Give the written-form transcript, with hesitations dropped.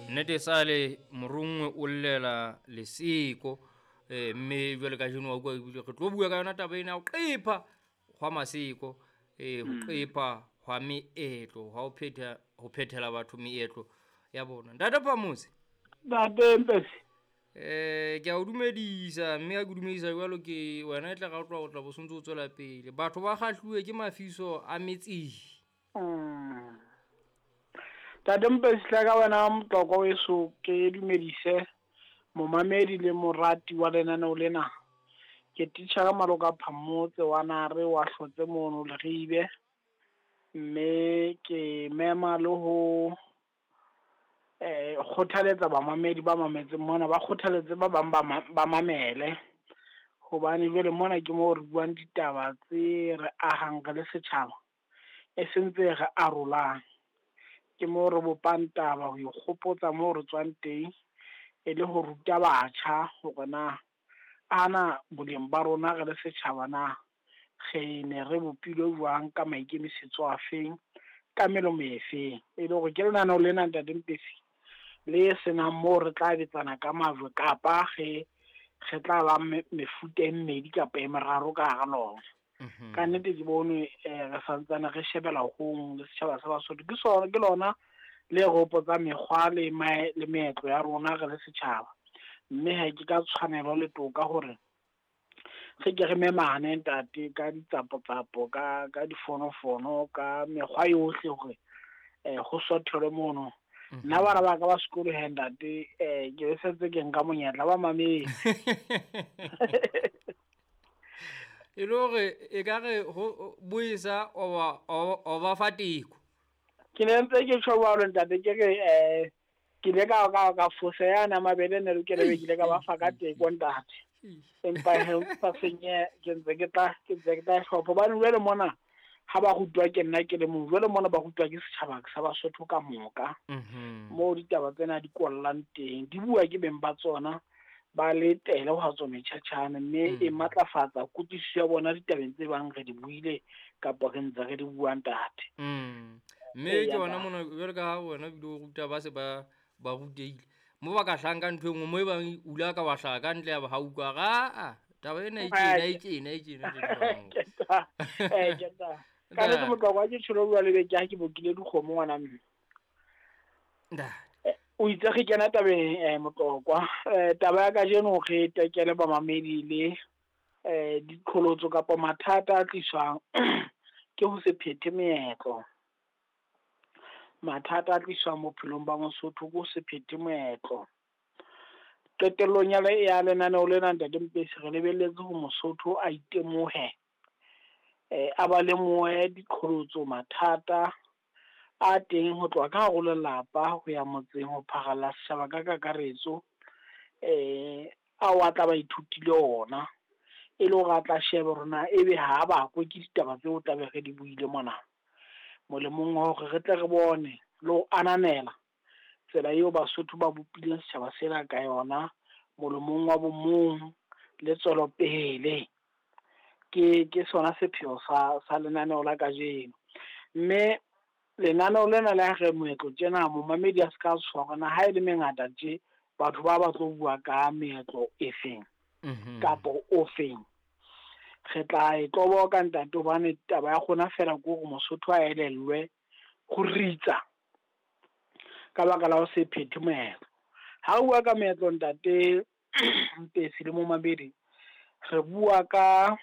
Nnete sale morongwe o llela leseko, mme jwale ka jeno wa utlwa ebile re tlo bua ka yona taba ena ya ho qepha hwa maseko, ho qepha hwa meetlo, hwa ho phethela batho meetlo ya bona. Ntate Phamotse. Ntate Mpesi. Ke a o dumedisa, mme ha ke dumedisa jwalo ke wena e tla ra utlwa o tla bo sontso o tswela pele. Batho ba kgahluwe ke mafiso a metseng. Ntate Mpesi, hle ka wena motlokwa weso, ke dumedise momamedi le morati wa lenaneo lena. Ke titjhere Maloka Phamotse wa Nare wa Hlotse mono Leribe, mme ke mema le ho kgothaletsa bamamedi ba mametseng mona, ba kgothaletse ba bang ba mamele, hobane jwale mona ke moo re buang ditaba tse re ahang re le setjhaba, e seng tse re arolang. Ke moo re bopang taba ho ikgopotsa moo re tswang teng, e le ho ruta batjha hore na ana boleng ba rona re le setjhaba na re ne re bopilwe jwang, ka maikemisetso a feng, ka melomo e feng. E le hore ke lenaneo lena Ntate Mpesi le senang moo re tla betsana ka majwe, kapa re tla ba mefuta e mmedi kapa e meraro ka hara lona. Ka nnete ke bone re santsane re shebela hong le setjhaba sa Basotho. Ke sona, ke lona le re hopotsa mekgwa le le meetlo ya rona re le setjhaba. Mme ha ke ka tshwanelo le toka hore re ke re memane ntate ka ditsapotsapo, ka difonofono, ka mekgwa yohle hore ho sothelwe mono. Nna bana ba ka ba sekolo he ntate, ke sentse ke nka monyetla ba mametse. E le hore e ka re ho boesa o ba fa teko. Ke ne ntse ke tjho jwalo ntate, ke re ke ile ka fosa yana mabele ne lokela be ke ile ka ba fa ka teko ntate. Empa he o sa senye, ke ntse ke tla hlopha. Hobane jwale mona ha ba rutwa ke nna ke le mong, jwale mona ba rutwa ke setjhaba sa Basotho ka moka. Moo ditaba tsena di kollang teng, di bua ke beng ba tsona, ba le tele ho tswa metjhatjhane, mme e matlafatsa kutlwisiso ya bona ditabeng tse bang re di buile kapa re ntse re di buang ntate. Mme ke hona mona jwale ka ha wena ebile o ruta ba se ba rutehile, mo ba ka hlahang ka ntho e nngwe, mo e bang o ile ka wa hlaha ka ntle ya ba ha utlwa ra taba ena e tjena, e tjena, e tjena. Ka nnete motlokwa ke tjholo jwale be ke ha ke bokile dikgomo ngwana mme. O itse re kena tabeng motlokwa. Taba ya kajeno re tekele bamamedi le diqholotso kapa mathata a tliswang ke ho se phethe meetlo. Mathata a tliswang bophelong ba Mosotho ke ho se phethe moetlo. Qetellong ya lenaneo lena Ntate Mpesi, re lebelletse ho Mosotho a itemohe, a ba lemohe diqholotso, mathata a teng ho tloha ka hare ho lelapa ho ya motseng, ho pharalla setjhaba ka kakaretso, ao a tla ba ithutile ona, e le hore a tla shebe hore na ebe ha bakwe ke ditaba tseo tla be re di buile mona. Molemong wa hore re tle re bone le ho ananela tsela eo Basotho ba bopileng setjhaba sena ka yona, molemong wa bomong le tswelopele. Ke sona sepheo sa lenaneo la kajeno. Mme lenaneo lena le ha re moetlo tjena, momamedi a se ka tshoha na ha e le mengata tje, batho ba tlo bua ka meetlo e feng kapa o feng. Re tla e tloboka ntate, hobane taba ya rona fela ke hore Mosotho a elellwe ho ritsa ka baka la ho se phethe moetlo. Ha o bua ka meetlo ntate Mpesi le momamedi, re bua ka